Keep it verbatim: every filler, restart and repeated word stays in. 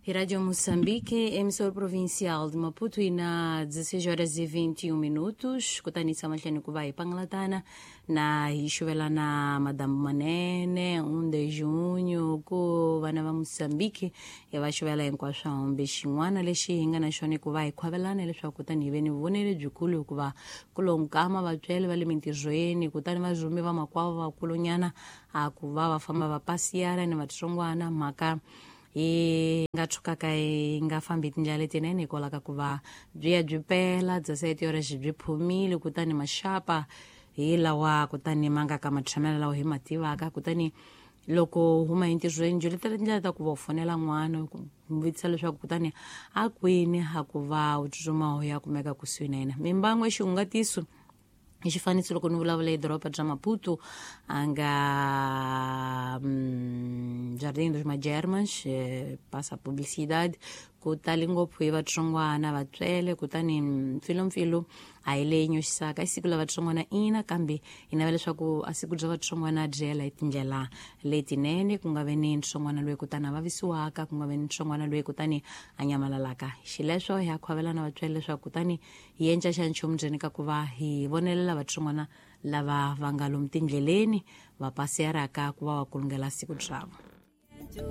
Rádio Moçambique, emissora provincial de Maputo, e na dezesseis horas e vinte e um minutos, kutani samahleni ku va hi pangalatana na hi xuvela na Madame Manene um de junho ku vana va Moçambique hi va xuvela hinkwaswo hambi xin'wana lexi hi nga na xona ku va hi khwavelana leswaku kutani hi ve ni vonelo byikulu hikuva ku lo nkama vatswele va le mintirhweni kutani va rhume vamakwavo vakulunyana a ku va va famba va pasiyana ni vatsongwana mhaka yi nga tshukaka yi nga fambi tindlela letinene hikwalaho ka ku va byi ya byi pela bya sayiti yorexe byi phumile kutani maxapa hi lawa kutani ma nga ka matshamelo lawa hi ma tivaka kutani loko huma entirhweni byi letela tindlela ta ku va u fonela n'wana ku n'wi vutisa leswaku kutani a kwini a ku va u tsutsuma u ya kumeka kusuhi na yena mimbangu exihungatiso hi xifaniso loko ni vulavula hi doroba bya Maputo a nga mm, Jardim dos Magermans, eh, passa publicidade ku tali ngopfu hi vatsongwana vatswele kutani mpfilumpfilu a hi leyi nyoxisaka i siku la vatsongwana ina kambe hi navela leswaku a siku bya vatsongwana byi hela hi tindlela letinene ku nga ve ni ntsongwana loyi kutani a vavisiwaka ku nga ve ni ntsongwana loyi kutani a nyamalalaka xileswo hi a khwavelana vatswele leswaku kutani hi endla xa nchumu ndzeni ka ku va hi vonelela vatsongwana lava va nga lomu tindleleni va pasiyaraka ku va va kulungela siku byavo.